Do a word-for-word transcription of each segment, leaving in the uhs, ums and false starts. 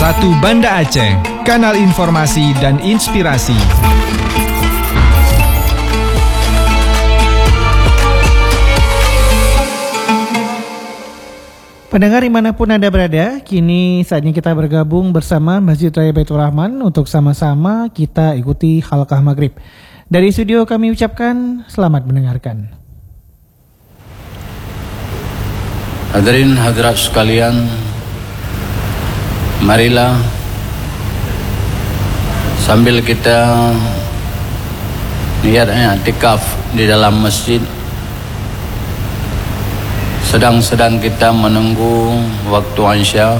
Ratu Banda Aceh, kanal informasi dan inspirasi. Pendengar dimanapun Anda berada, kini saatnya kita bergabung bersama Masjid Raya Baitur Rahman untuk sama-sama kita ikuti halqah maghrib. Dari studio kami ucapkan selamat mendengarkan. Hadirin hadirat sekalian, marilah sambil kita niat iktikaf di dalam masjid, sedang-sedang kita menunggu waktu Isya,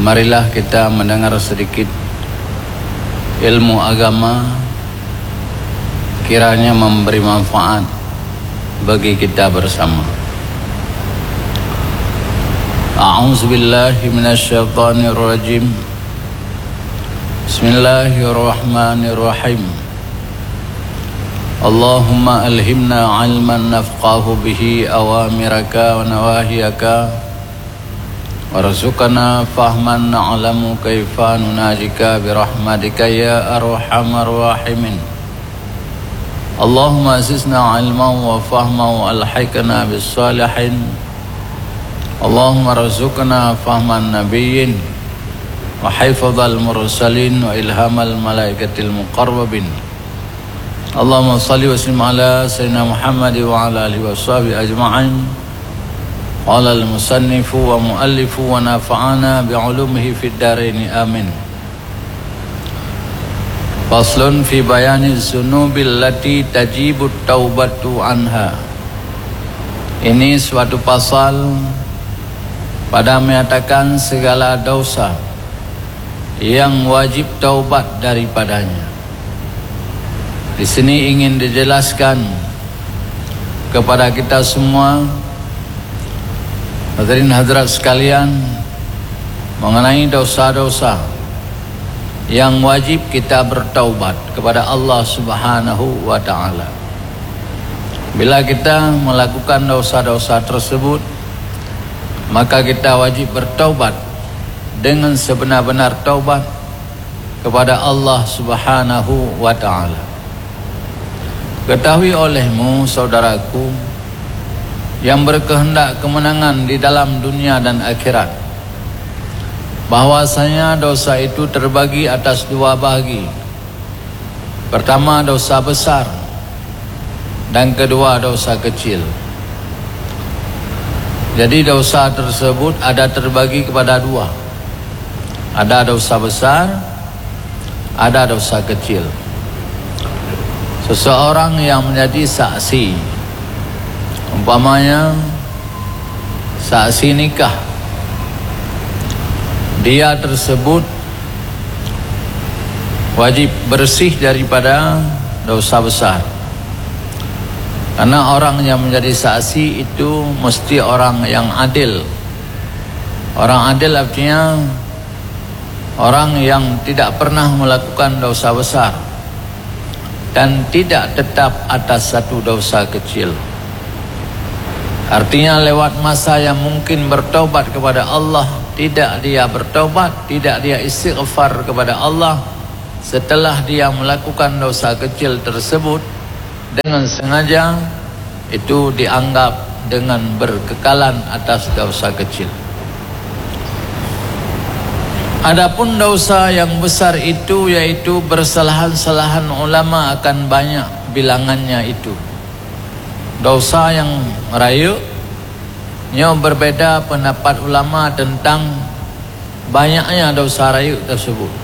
marilah kita mendengar sedikit ilmu agama, kiranya memberi manfaat bagi kita bersama. A'udzubillahi minasyaitonirrajim. Bismillahirrahmanirrahim. Allahumma alhimna ilman nafqahu bihi awamiraka wa nawahiyaka. Warzuqna fahman na'lamu kaifa nunajika birahmatika ya arhamar rahimin. Allahumma zidna ilman wa fahman wa alhiqna bis salihin. Allahumma rzuqna fahman nabiyyin wa hifdzal mursalin wa ilhamal malaikatil muqarrabin. Allahumma shalli wa sallim ala sayyidina Muhammad wa ala alihi wa sahbihi ajma'in. Qala al-musannifu wa muallifu wa nafa'ana bi ulumihi fid daraini, amin. Faslun fi bayani dzunubil lati tajibut taubatu anha. Ini suatu pasal pada menyatakan segala dosa yang wajib taubat daripadanya. Di sini ingin dijelaskan kepada kita semua, hadirin hadirat sekalian, mengenai dosa-dosa yang wajib kita bertaubat kepada Allah Subhanahu wa Ta'ala. Bila kita melakukan dosa-dosa tersebut, maka kita wajib bertaubat dengan sebenar-benar taubat kepada Allah Subhanahu wa Ta'ala. Ketahui olehmu, saudaraku, yang berkehendak kemenangan di dalam dunia dan akhirat, bahwasanya dosa itu terbagi atas dua bagi. Pertama, dosa besar, dan kedua, dosa kecil. Jadi, dosa tersebut ada terbagi kepada dua. Ada dosa besar, ada dosa kecil. Seseorang yang menjadi saksi, umpamanya saksi nikah, dia tersebut wajib bersih daripada dosa besar. Karena orang yang menjadi saksi itu mesti orang yang adil. Orang adil artinya orang yang tidak pernah melakukan dosa besar dan tidak tetap atas satu dosa kecil. Artinya, lewat masa yang mungkin bertobat kepada Allah, tidak dia bertobat, tidak dia istighfar kepada Allah setelah dia melakukan dosa kecil tersebut dengan sengaja, itu dianggap dengan berkekalan atas dosa kecil. Adapun dosa yang besar itu, yaitu persalahan-salahan ulama, akan banyak bilangannya itu. Dosa yang rayeuk, nyoe berbeda pendapat ulama tentang banyaknya dosa rayeuk tersebut.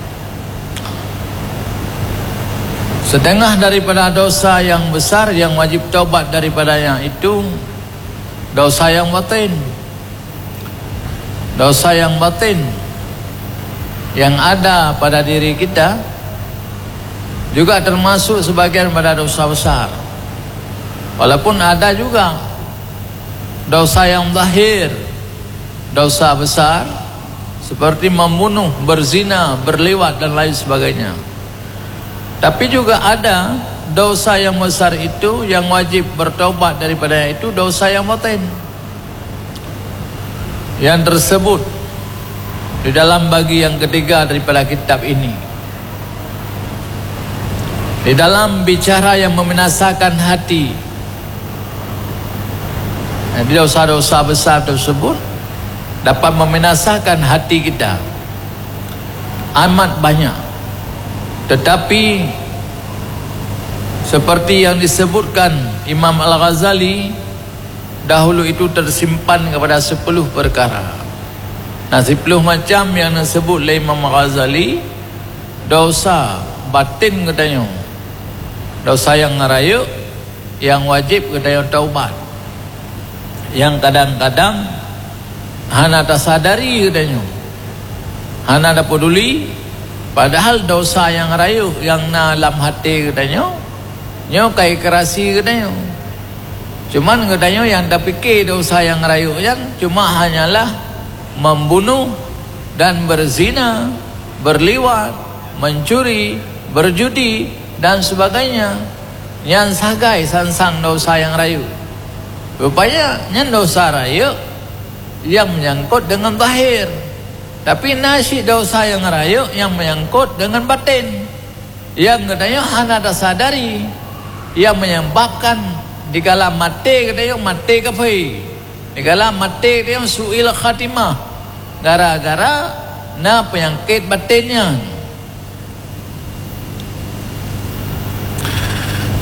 Setengah daripada dosa yang besar yang wajib taubat daripadanya itu dosa yang batin. Dosa yang batin yang ada pada diri kita juga termasuk sebagian pada dosa besar. Walaupun ada juga dosa yang zahir, dosa besar, seperti membunuh, berzina, berliwat, dan lain sebagainya. Tapi juga ada dosa yang besar itu yang wajib bertobat daripadanya, itu dosa yang batin, yang tersebut Di dalam bagi yang ketiga daripada kitab ini, di dalam bicara yang membinasakan hati, jadi dosa-dosa besar tersebut dapat membinasakan hati kita amat banyak. Tetapi seperti yang disebutkan Imam Al-Ghazali, dahulu itu tersimpan kepada sepuluh perkara. Nah, sepuluh macam yang disebut oleh Imam Ghazali, dosa batin geutanyoe, dosa yang rayeuk, yang wajib geutanyoe taubat, yang kadang-kadang hana tasadari geutanyoe, hana tapeduli, padahal dosa yang rayeuk yang na lam até geutanyoe, nyoe ka ikrasi geutanyoe. Cuman geutanyoe nyang tapike dosa nyang rayeuk nyan cuma hanyalah membunuh dan berzina, berliwat, mencuri, berjudi, dan sebagainya. Nyan sagai sang-sang dosa nyang rayeuk. Rupanya nyan dosa rayeuk nyang menyangkut dengan zahir. Tapi na cit dosa nyang rayeuk nyang menyangkut dengan batin. Nyang geutanyoe hana tasadari, nyang menyebabkan digalak maté geutanyoe maté kafé, digalak maté geutanyoe su'il khatimah, gara-gara na peunyakét batin nyan.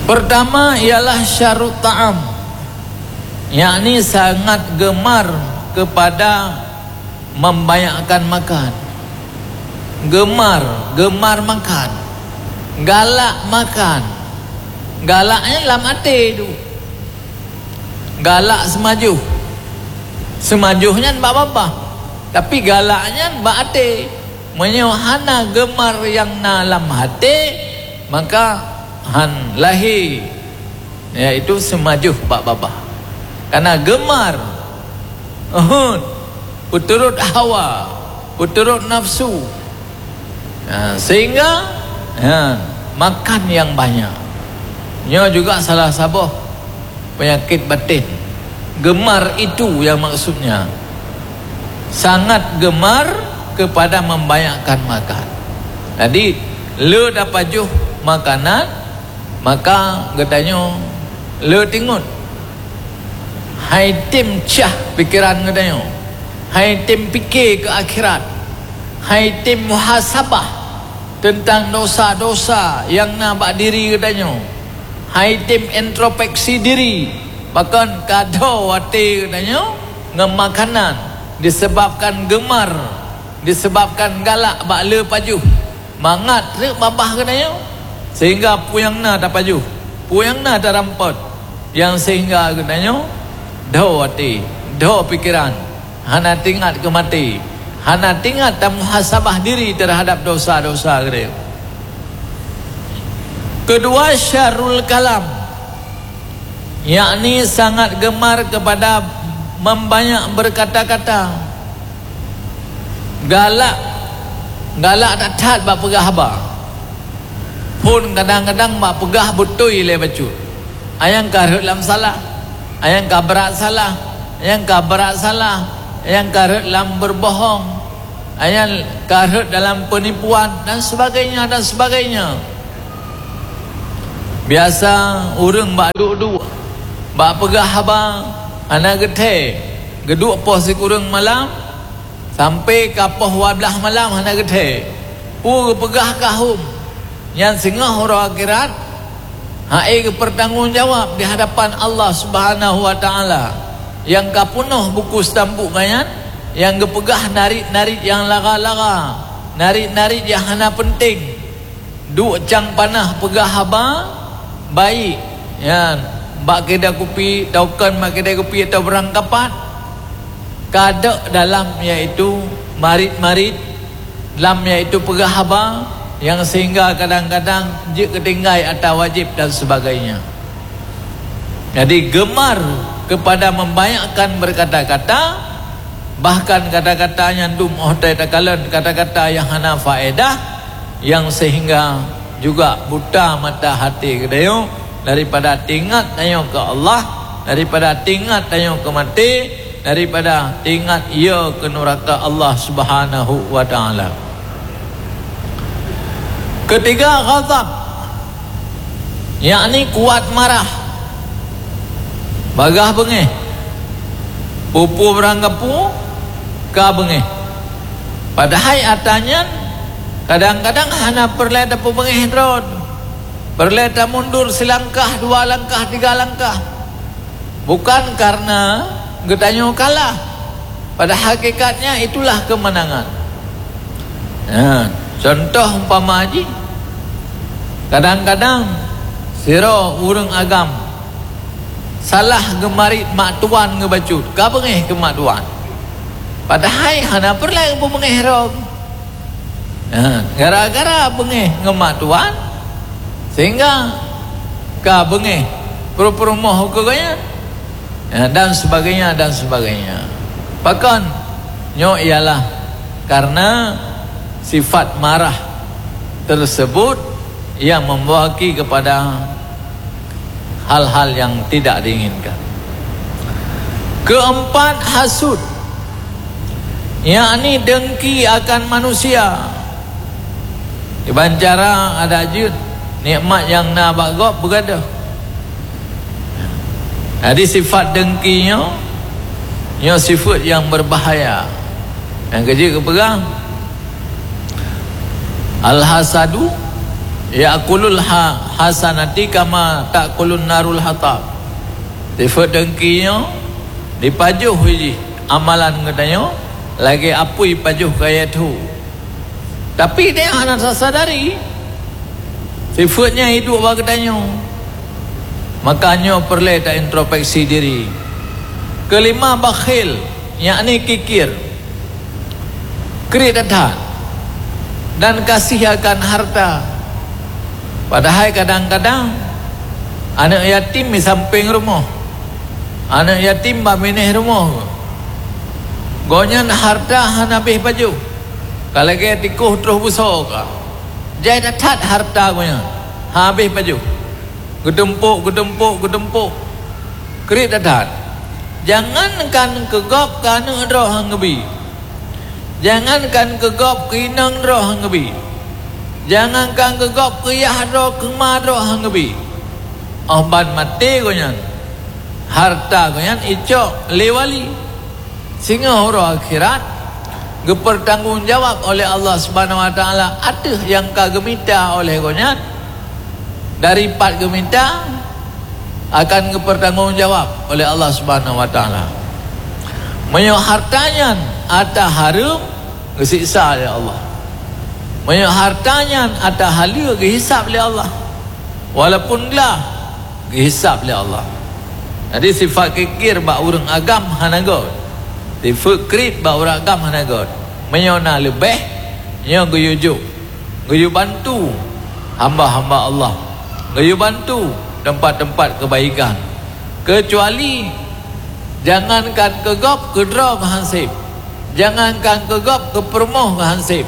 Pertama ialah syarrut ta'am, yakni sangat gemar kepada membanyakkan makan. Gemar, gemar makan. Galak makan. Galak nyan lam até tu. Galak seumajoh. Seumajoh nyan bak babah. Tapi galak nyan bak até. Meunyoe hana gemar nyang na lam até, maka han lahé, yaitu seumajoh bak babah. Karena gemar, uhud, peuturot hawa, peuturot nafsu. Ha, sehingga, ha, makan yang banyak. Nyoe juga salah saboh penyakit batin. Gemar itu yang maksudnya. Sangat gemar kepada membanyakkan makan. Jadi, le tapajoh makanan, maka geutanyoe le tingot. Hai tem cah pikeran geutanyoe. Hai tem pike keu akhirat. Hai tem muhasabah teuntang dosa-dosa nyang na bak diri geutanyoe. Hai tem introspeksi diri, pakon ka dho até geutanyoe ngon makanan disebabkan gemar, disebabkan galak bak le pajoh, mangat treuk babah geutanyoe, sehingga peue nyang na tapajoh, peue nyang na tarampot, nyang sehingga geutanyoe dho até, dho pikeran, hana teuingat keu maté, hana teuingat tamuhasabah diri terhadap dosa-dosa geutanyoe. Kedua, syarrul kalam, yakni sangat gemar kepada membanyak berkata-kata. Galak, galak that-that bak peugah haba. Phon kadang-kadang bak peugah beutôi lé bacut. Nyang ka rhot lam salah, nyang ka brat salah, nyang ka brat salah, nyang ka rhot lam berbohong, nyang ka rhot dalam penipuan dan sebagainya, dan sebagainya. Biasa ureuëng bak duek-duek, bak peugah haba hana geuthée, geuduek poh sikureueng malam, sampai ka poh dua blaih malam hana geuthée. Peue geupeugah ka hom, nyan singoh uroe akhirat, hai geupeurtanggung jawab di hadapan Allah Subhanahu wa Taala. Nyang ka peunoh buku stampuk geuh nyan, nyang geupeugah narit-narit nyang lara-lara, narit-narit nyang hana peunteng. Duek cang panah peugah haba baik, nyan, bak keudè kupi, taukan bak keudè kupi atau barangkapat, ka deuek dalam, yaitu marit-marit, lam, yaitu peugah haba nyang sehingga kadang-kadang jeuet keu tinggai ata wajéb dan sebagainya. Jadi, gemar kepada membanyakkan berkata-kata, bahkan kata-kata nyang dum óh tai takalon kata-kata nyang hana faedah, nyang sehingga juga buta mata hati geutanyoe daripada teuingat tanyoe keu Allah, daripada teuingat tanyoe keu maté, daripada ingat ie keu nuraka Allah Subhanahu wa Ta'ala. Ketiga, ghadab, yakni kuat marah, bagah beungéh. Peue-peue barang geupeu ka beungéh. Padahai atra nyan kadang-kadang hana peureulée tapeubeungéh droe. Peureulée tamundur silangkah, dua langkah, tiga langkah. Bukan karena geutanyoe kalah. Pada hakikatnya itulah kemenangan. Nah, contoh umpama jih, kadang-kadang sidroe ureuëng agam salah geumarit mak tuan geubacut, ka beungéh keu mak tuan. Padahai hana peureulée geubeungéh droe. Ha, gara-gara beungéh ngon mak tuan, sehingga ka beungéh peurumoh keu gobnyan, ha, dan sebagainya, dan sebagainya. Pakon? Nyoe ialah karena sifat marah tersebut yang membawa kepada hal-hal yang tidak diinginkan. Keempat, hasud, yakni dengki akan manusia. Kiban cara adak jeuet nikmat nyang na bak gob beugadoh. Jadi sifat dengki nyoe, nyoe sifat yang berbahaya. Nyang keujeuet geupeugah, "Al-hasadu ya'kulul ha-, hasanati kama ta'kulun narul hatab." Sifat dengki nyoe jipajoh jih amalan geutanyoe lagée apui pajoh kayée tho. Tapi tanyoe hana tasadari sifat nyan iduek bak geutanyoe. Maka nyoe peureulée ta introspeksi diri. Keulima, bakhil, yakni kikir. Kriet that-that dan kasih akan harta. Padahai kadang-kadang aneuëk yatim di sampéng rumoh, aneuëk yatim bak binéh rumoh. Gobnyan harta hana habéh pajoh, ka lagée tikoh troh beusoe ka. Jai that-that harta gobnyan, hana habéh pajoh. Geutumpôk, geutumpôk, geutumpôk. Kriet that-that. Jangankan keu gob, keu aneuëk droe han geubi. Jangankan keu gob, keu inong droe han geubi. Jangankan keu gob, keu yah droe, keu ma droe han geubi. Óh ban maté gobnyan, harta gobnyan icok lé wali. Singoh uroe akhirat, geupeurtanggong jawab oleh Allah Subhanahu wa Taala ateueh nyang ka geumita oleh gobnyan. Dari pat geumita, akan geupeurtanggong jawab oleh Allah Subhanahu wa Taala. Meunyoe harta nyan atra hareuem, geusiksa lé Allah. Meunyoe harta nyan atra haleue, geuhisab lé Allah. Walaupun glah, geuhisab lé Allah. Jadi sifat kikir bak ureuëng agam hana göt. Sifat kriet bak ureuëng agam hana göt. Meunyoe na leubeh, nyoe geuyue jok, geuyue bantu hamba-hamba Allah, geuyue bantu teumpat-teumpat keubaikan. Keucuali jangankan keu gob, keu droe han seb. Jangankan keu gob, keu peurumoh han seb.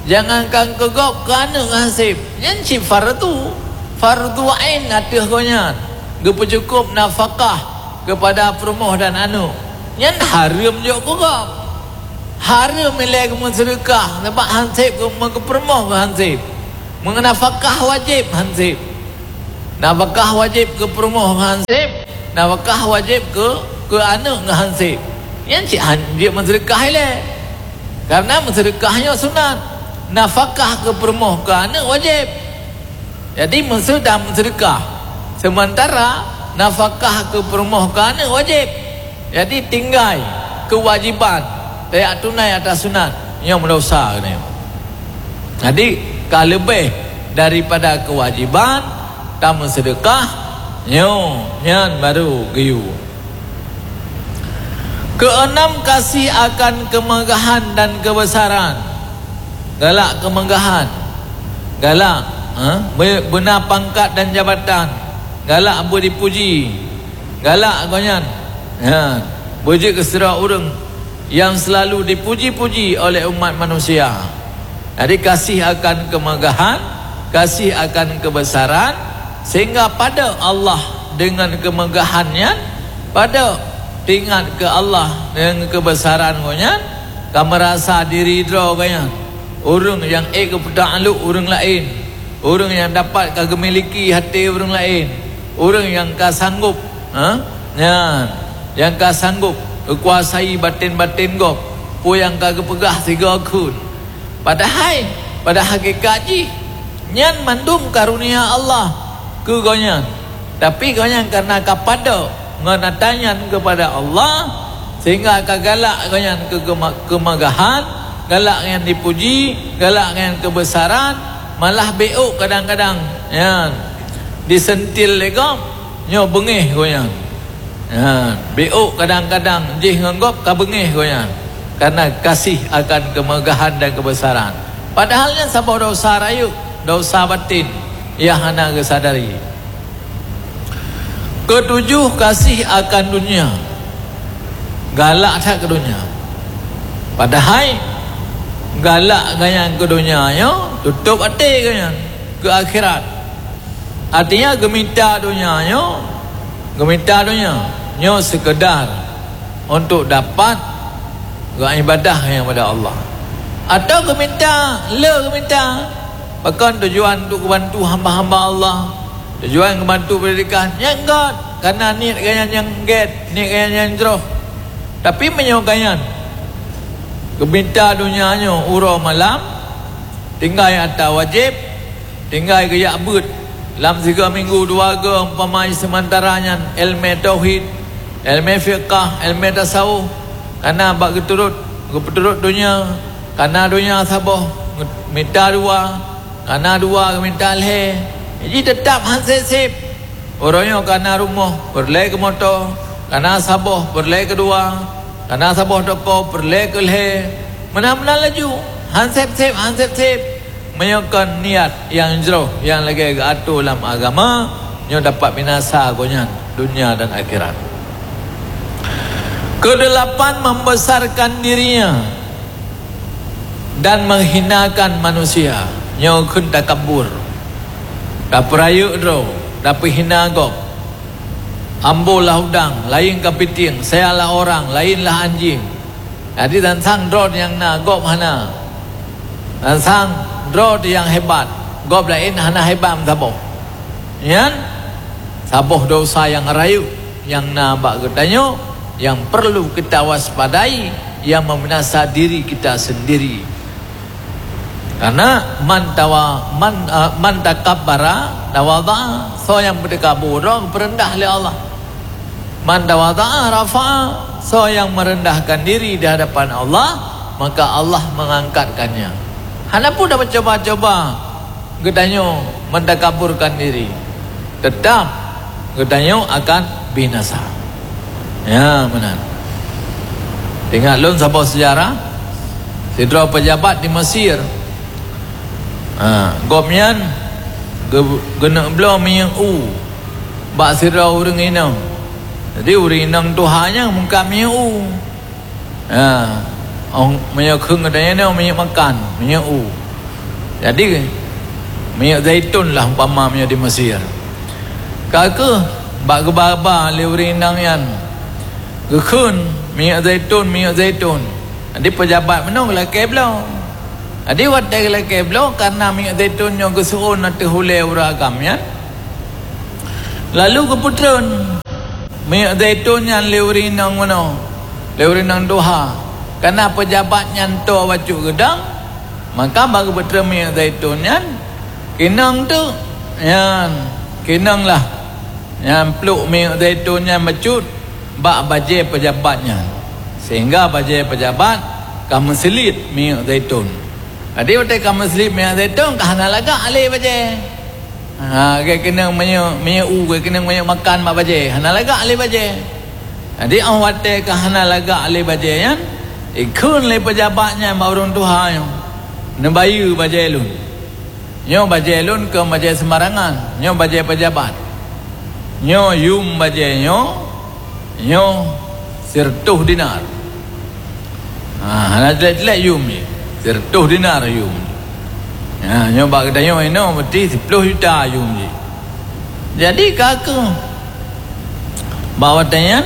Jangankan keu gob, keu aneuëk han seb. Nyan cit fardu, fardu ain ateueh gobnyan. Geupeujukôb nafakah keupada peurumoh dan aneuëk. Nyan hareuem jok keu gob. Hareuem ilée geumeuseudeukah, sabab han seb geu-, meukeu peurumoh han seb. Meunafakah wajéb han seb. Nafakah wajéb keu peurumoh han seb, nafakah wajéb keu, keu aneuëk han seb. Nyan cit han jeuet meuseudeukah ilée. Karena meuseudeukah nyoe sunat. Nafakah keu peurumoh keu aneuëk wajéb. Jadi meuseudeukah, seumantara nafakah keu peurumoh keu aneuëk wajéb. Jadi tinggai keuwajiban tajak tunai atra sunat, nyoe meudesya geutanyoe. Jadi ka leubeh daripada keuwajiban tameuseudeukah, nyoe nyan barô geuyue. Keueunam, kasih akan keumeugahan dan keubeusaran. Galak keumeugahan, galak, ha, be-, beuna pangkat dan jabatan, galak beudipuji. Galak gobnyan, ha, beujeuet keu sidroe ureuëng nyang seulalu dipuji-puji oleh umat manusia. Jadi kasih akan keumeugahan, kasih akan keubeusaran, sehingga padub Allah deungon keumeugahan nyan, padub Teuingat keu Allah deungon keubeusaran Gobnyan, ka meurasa diri droe gobnyan ureuëng nyang ék geupeutak lhok ureuëng laén, ureuëng nyang dapat ka geumiliki até ureuëng laén, ureuëng nyang ka sanggob, ha? Nyan, nyang ka sanggob geukuasai batén-batén gob, peue nyang ka geupeugah sigoe kheun. Padahai, pada hakikat jih, nyan mandum karunia Allah keu gobnyan. Tapi gobnyan kareuna ka padub ngon ata nyan keupada Allah, sehingga ka galak gobnyan keu keuma-, keumagahan, galak ngon dipuji, galak ngon keubeusaran, malah bék kadang-kadang nyan diseuntil lé gob, nyoe beungéh gobnyan. Ha, bék kadang-kadang jih ngon gob ka beungéh gobnyan, kareuna kasih akan keumeugahan dan keubeusaran. Padahai nyan saboh desya rayeuk, desya batin nyang hana geusadari. Keutujoh, kasih akan dunia. Galak that keu dunia. Padahai galak gobnyan keu dunia nyoe, tutôb até gobnyan keu akhirat. Artinya geumita donya nyoe, geumita donya nyoe seukeudar untuk dapat geuibadah nyang pada Allah. Atau geumita, le geumita, pakon tujuan untuk geubantu hamba-hamba Allah, tujuan geubantu pendidikan, nyang gét, karena niet gobnyan nyang gét, niet gobnyan nyang jroh. Tapi meunyoe gobnyan geumita donya nyoe uroe malam, tinggai ata wajéb, tinggai geujak beuet lam sigoe minggu dua goe, umpama seumantara nyan ilmu tauhid, ilmu fiqah, ilmu tasawuf, kana bak geuturot, geupeuturot donya, kana donya saboh, mita dua, kana dua geumita lhée, jih teutab han sép-sép. Uroe nyoe kana rumoh, peureulée keu moto, kana saboh, peureulée keu dua, kana saboh toko, peureulée keu lhée. Meunan-meunan laju, han sép-sép, han sép-sép. Meunyoe kon niat nyang jroh nyang lagée geuatoe lam agama, nyoe dapat binasa gobnyan donya dan akhirat. Keudelapan, membesarkan dirinya dan menghinakan manusia. Nyoe kheun takabur. Tapeurayeuk droe, tapeuhina gob. Ambo lah udang, laén kapitieng, saya lah orang, laén lah anjing. Jadi, sansang droe nyang na, gob hana. Sansang droe nyang hebat, gob laén hana hebat meusaboh. Nyan saboh desya nyang rayeuk nyang na bak geutanyoe, nyang perlu kita waspadai, nyang membinasa diri kita sendiri. Karena man tawa-, man, eh, man takabbara tawadha'a, soe nyang meutakabur, geupeureudah lé Allah. Man tawadha'a rafa'a, soe nyang meurendahkan diri di hadapan Allah, maka Allah mengangkatkannya. Hana pun dah mencoba-coba geutanyoe mentakaburkan diri, teutap geutanyoe akan binasa. Ya, meunan. Ingat lôn saboh seujarah, sidroe peujabat di Mesir. Ha, gobnyan geu-, geuneuk bloe minyeuk u bak sidroe ureuëng inong. Jadi, ureuëng inong tuha nyan meukat minyeuk u. Ha, ong, meunyoe kheun geutanyoe nyoe minyeuk makan, minyeuk u. Jadi, minyeuk zaitun lah umpama meunyoe di Mesir. Ka kheueh bak geuba-ba lé ureuëng inong nyan, geukheun minyeuk zaitun, minyeuk zaitun. Jadi, peujabat meunoe geulakée bloe. Jadi, watée geulakée bloe, karena minyeuk zaitun nyoe geuseuôn ateueh ulée ureuëng agam nyan, lalu geupeutreun minyeuk zaitun nyan lé ureuëng inong meunoe, lé ureuëng inong tuha. Karena peujabat nyan toe bacut geudong, maka bak geupeutreun minyeuk zaitun nyan, keunoe teuk nyan, keunoe lah nyan pluek minyeuk zaitun nyan bacut bak bajée peujabat nyan, sehingga bajée peujabat ka meuseuliet minyeuk zaitun. Jadi, watée ka meuseuliet minyeuk zaitun, ka hana lagak lé bajée. Ha, geukeunong minyeuk, minyeuk u, geukeunong minyeuk makan bak bajée, hana lagak lé bajée. Jadi, óh watée ka hana lagak lé bajée nyan, ikheun lé peujabat nyan bak ureuëng tuha nyoe, "Neubayeue bajée lôn. Nyoe bajée lôn kon bajée seumbarangan, nyoe bajée peujabat. Nyoe yum bajée nyoe, nyoe sireutôh dinar." Ha, hana clek-clek yum jih. Sireutôh dinar yum jih. Ha, nyoe bak geutanyoe inoe, berarti siploh juta yum jih. Jadi, ka kheueh bak watée nyan,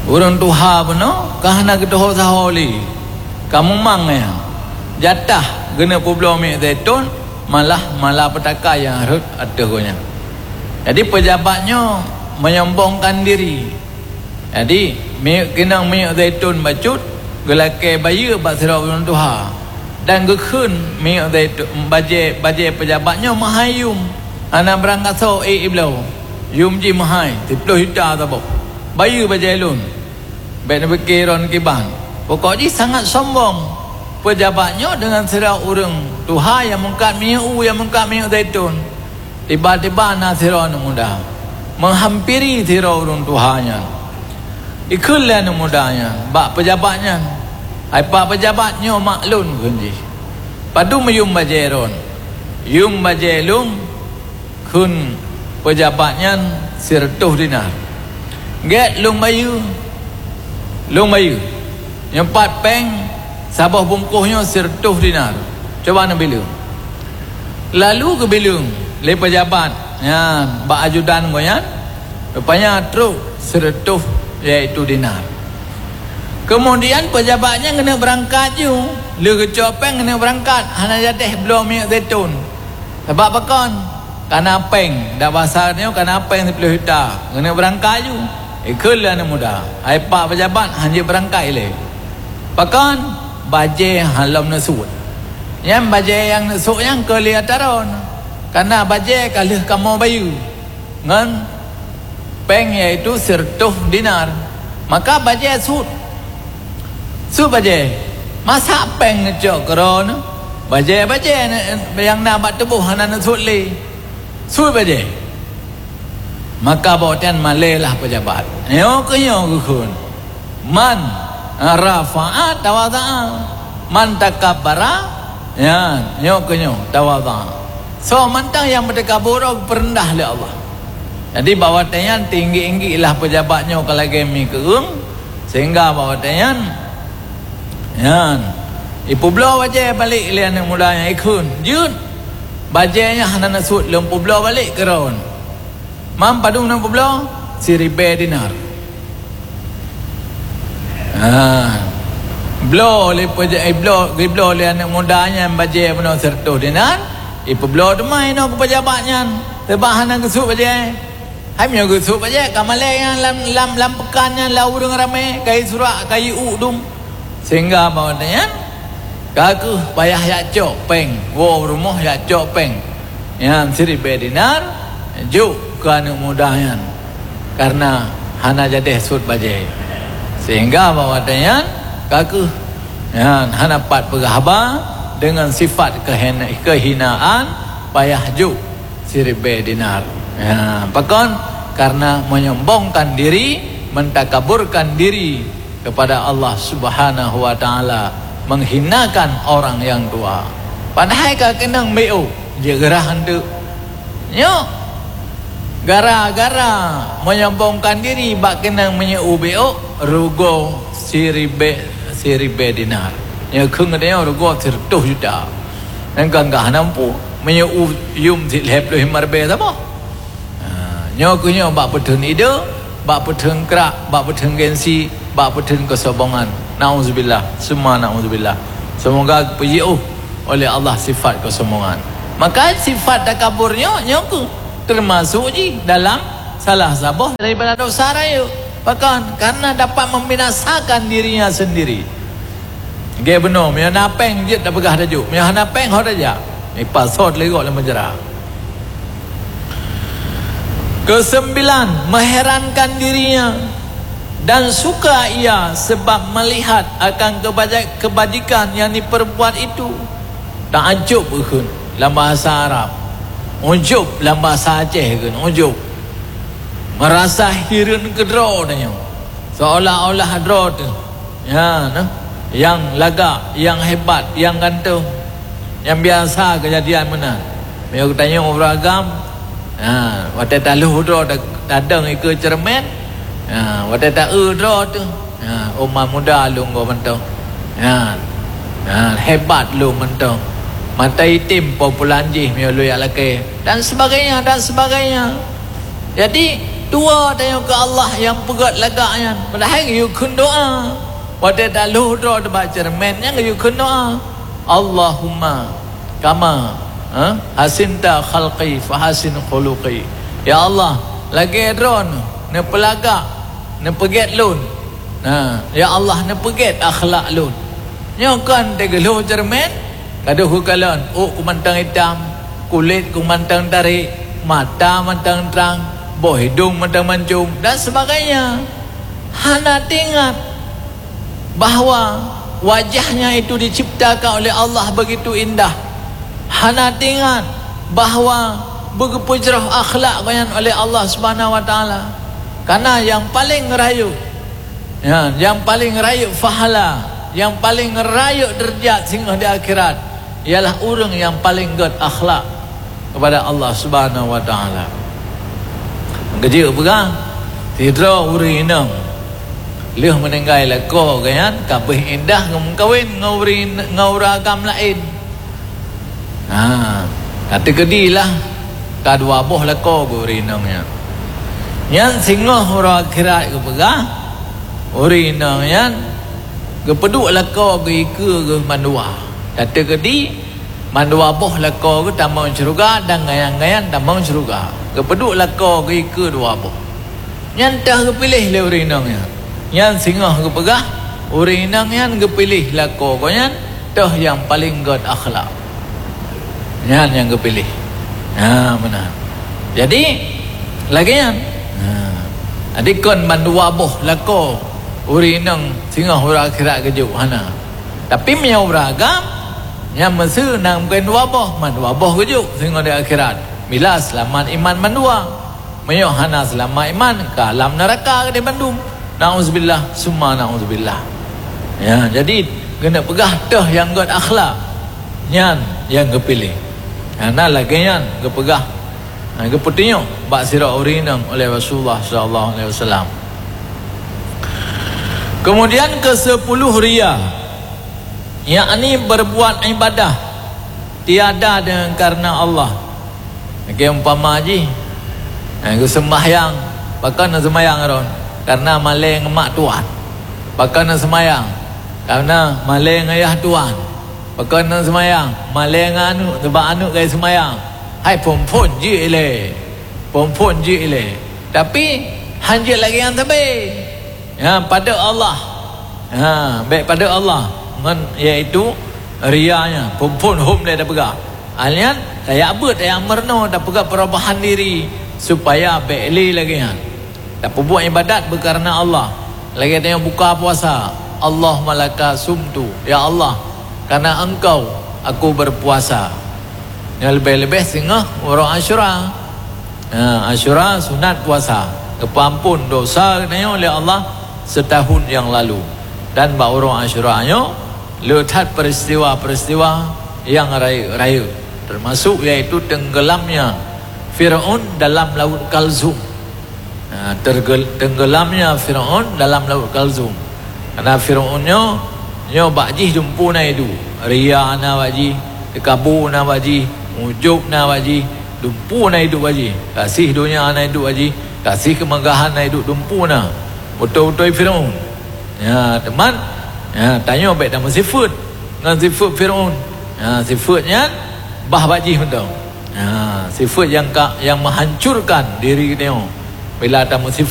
Ureuëng tuha bunoe ka hana geutuho saho lé. Ka mumang nyan. Jatah geuneuk peubloe minyeuk zaitun, malah malapetaka nyang rhot ateueh gobnyan. Jadi, peujabat nyoe meunyombongkan diri. Jadi, minyeuk, keunong minyeuk zaitun bacut geulakée bayeue bak sidroe ureuëng tuha. Dan geukheun minyeuk zaitun, bajée, bajée peujabat nyoe meuhai yum. Hana beurangkasoe ék ibloe. Yum jih meuhai, siplôh juta saboh. Bayeue bajée lôn. Bék neupike droeneuh kiban. Pokok jih sangat sombong. Peujabat nyoe deungon sidroe ureuëng tuha nyang meungkat minyeuk u, nyang meungkat minyeuk zaitun. Tiba-tiba na sidroe aneuk muda meuhampiri sidroe ureuëng tuha nyan. Ikheun lé aneuk muda nyan bak peujabat nyan, "Hai pak peujabat, nyoe mak lôn," kheun jih. "Padub yum bajée droen?" "Yum bajée lôn," kheun peujabat nyan, "sireutôh dinar." "Gét lôn bayeue, lôn bayeue. Nyoe pat péng saboh bungkôh nyoe sireutôh dinar. Cuba neubileueng." Lalu geubileueng lé peujabat nyan bak ajudan gobnyan, rupanya trok sireutôh, yaitu dinar. Keumudian peujabat nyan keuneuk beurangkat ju, lheueh geucok péng keuneuk beurangkat, hana jadéh bloe minyeuk zaitun. Sabab pakon? Kana péng, dak basa nyoe kana péng siplôh juta, keuneuk beurangkat ju. Ikheun lé aneuk muda, "Hai pak peujabat, hanjeuet beurangkat ilée." Pakon? Bajée hana lom neusuet. Nyan bajée nyang neusuet nyan keu lé ata droen. Kana bajée ka lheueh kamoe bayeue ngon péng, yaitu sireutôh dinar. Maka bajée suet. Suet bajée. Masa péng neucok keudroe nyoe? Bajée-bajée nyang na bak tuboh hana neusuet lé. Suet bajée. Maka bak watée nyan malée lah peujabat. Nyoe keuh nyoe geukheun, "Man rafa'a tawadha'a, man takabbara," nyan, nyoe keuh nyoe tawadha'a. Soe mantong nyang meutakabur geupeureudah lé Allah. Jadi, bak watée nyan teuinggik-inggik lah peujabat nyoe ka lagée mi keueung, sehingga bak watée nyan, nyan, ipeubloe bajée balek lé aneuk muda nyan, ikheun, "Jeuet, bajée nyan hana neusuet, lôn peubloe balek keudroe." "Man padub neupeubloe?" "Siribée dinar." Ha. Bloe lé peuja-, eh, bloe, geubloe lé aneuk muda nyan bajée bunoe sireutôh dinar, ipeubloe teuma inoe keu peujabat nyan, sabab hana geusuet bajée. Hai meunyoe geusuet bajée, ka malée nyan lam, lam, lam peukan nyan lam ureuëng ramé, ka jisurak, ka jiuek dum. Sehingga bak watée nyan, ka kheueh payah jak cok péng, woe rumoh jak cok péng. Nyan siribée dinar, jok keu aneuk muda nyan, kareuna hana jadéh suet bajée. Sehingga bak watée nyan, ka kheueh nyan hana pat peugah haba, deungon sifat keuhen-, keuhinaan, payah jok siribée dinar. Ha, pakon? Kareuna menyombongkan diri, mentakaburkan diri kepada Allah Subhanahu wa Ta'ala, menghinakan orang yang tua. Padahai ka keunong B O, jeuet geurah anteuk. Nyoe, gara-gara menyombongkan diri bak keunong minyeuk u B O, rugoe siribée, siribée dinar. Nyoe kheun geutanyoe rugoe sireutôh juta. Nyan ka hana mampu, minyeuk u yum sit lhée ploh limong ribée saboh. Ha, nyoe keuh nyoe bak peutheun ide, bak peutheun krak, bak peutheun gengsi, bak peutheun keusombongan. Nauzubillah, summa nauzubillah. Seumoga geupeujeuet oleh Allah sifat keusombongan. Maka sifat takabur nyoe, nyoe keuh teumasok jih dalam salah saboh daripada dosa rayeuk. Pakon? Karena dapat membinasakan dirinya sendiri. Geubunoe, meunyoe na péng jeuet tapeugah tajok, meunyoe hana péng ho tajak. Ipasoe teuligok lam penjara. Kesembilan, mengherankan dirinya dan suka ia sebab melihat akan kebaja-, kebajikan yang diperbuat itu. Ta'ajub kheun lam bahasa Arab. Ujub lam bahasa Aceh kheun, ujub. Merasa hireuen keudroe tanyoe. Seolah-olah droe teuh. Ya, nah. Nyang lagak, nyang hebat, nyang ganteng. Nyang biasa keujadian meunan. Meunyoe geutanyoe ureuëng agam, ha, watée taloh droe ta-, tadong ikeue ceureumen, ha, watée ta-eu droe teuh, ha, uma muda lôn goe mantong. Ha, ha, hebat lôn mantong. Mata item po pulan jih meunyoe lôn jak lakée, dan sebagainya, dan sebagainya. Jadi, Dua tanyoe keu Allah nyang peugét lagak nyan, padahai geuyue kheun doa. Watée talhoh droe teuh bak ceureumen nyan geuyue kheun doa, "Allahumma kama, ha, hasinta khalqi fahassin khuluqi." Ya Allah, lagée droeneuh neupeulagak, neupeugét lôn. Nah, ya Allah, neupeugét akhlak lôn. Nyoe kon teugeulhoh ceureumen, ka deuh geukalon, ôk ku mantong itam, kulét ku mantong tarék, mata mantong trang, boh hidông mantong mancung, dan sebagainya. Hana teuingat bahwa wajahnya itu diciptakan oleh Allah begitu indah. Hana teuingat bahwa beugeupeu jroh akhlak gobnyan oleh Allah Subhanahu wa Taala. Karena nyang paleng rayeuk, ya, nyang paleng rayeuk pahala, nyang paleng rayeuk deurajat singoh di akhirat, ialah ureuëng nyang paleng gét akhlak kepada Allah Subhanahu wa Taala. Geujeuet peugah, sidroe ureuëng inong lheueh meuninggai lakoe geuh nyan ka beuh indah geumeukawen ngon ureuëng, ngon ureuëng agam laén. Ha, ka teukeudi lah ka dua boh lakoe geuh ureuëng inong nyan. Nyan singoh uroe akhirat geupeugah, ureuëng inong nyan geupeuduek lakoe geuh ikeue geuh mandua. Ka teukeudi mandua boh lakoe geuh tamong syeuruga dan ngayan-ngayan tamong syeuruga. Geupeuduek lakoe geuh ikeue dua boh. Nyan teuh geupiléh lé ureuëng inong nyan. Nyan singoh geupeugah, ureuëng inong nyan geupiléh lakoe gobnyan teuh nyang paleng gét akhlak. Nyan nyang geupiléh. Ha, meunan. Jadi, lagée nyan. Ha. Jadi kon mandua boh lakoe ureuëng inong singoh uroe akhirat geujok, hana. Tapi meunyoe ureuëng agam, nyan meuseu na mungken dua boh, mandua boh geujok singoh di akhirat. Bila seulamat iman mandua. Meunyoe hana seulamat iman, ka lam neuraka di bandum. Na'udzubillah, summa na'udzubillah. Ya, jadi, keuneuk peugah teuh nyang gét akhlak, nyan nyang geupiléh. Hana lagée nyan geupeugah, ha, geupeutunyok bak sidroe ureuëng inong oleh Rasulullah sallallahu alaihi wasallam. Kemudian keusepuluh ria, yakni berbuat ibadah tiada dengan karena Allah. Lagée umpama jih, eh, geuseumbahyang, pakon na seumayang ron? Karena malée ngon mak tuan. Pakon na seumayang? Karena malée ngon ayah tuan. Pakon na seumayang? Malée ngon aneuëk, sabab aneuëk gai seumayang. Hai phon-phon jeuet ilée. Phon-phon jeuet ilée. Tapi, hanjeuet lagée nyan sabe. Ya, padub Allah. Ha, bék padub Allah. Ngon, yaitu ria nyan, phon-phon hom lé tapeugah. Alnyan, tajak beuet, tajak meurunoe, tapeugah perubahan diri supaya bék lé lagée nyan. Tapeubuet ibadat beukareuna Allah. Lagée tanyoe buka puasa, "Allahumma laka sumtu." Ya Allah, karena Engkau aku berpuasa. Nyang leubeh-leubeh singoh uroe Asyura. Ha, Asyura sunat puasa. Geupeuamphon dosa geutanyoe lé Allah setahun nyang lalu. Dan bak uroe Asyura nyoe, le that peristiwa-peristiwa nyang rayeuk-rayeuk, termasuk yaitu tenggelamnya Firaun dalam Laut Kalzum. Ha, tergel-, tenggelamnya Firaun dalam Laut Kalzum. Karena Firaun nyoe, nyoe bak jih dumpeue na iduek. Ria na bak jih, teukabô na bak jih, ujub na bak jih, dumpeue na iduek bak jih. Gaséh donya na iduek bak jih, gaséh keumeugahan na iduek, dumpeue na. Beutôi-beutôi Firaun. Ya, teuma, ya, tanyoe bék tameusifeuet ngon sifeuet Firaun. Ya, sifeuet nyan bah bak jih mantong. Ha, sifeuet nyang ka, nyang meuhancurkan diri geutanyoe. Bila tameusifeuet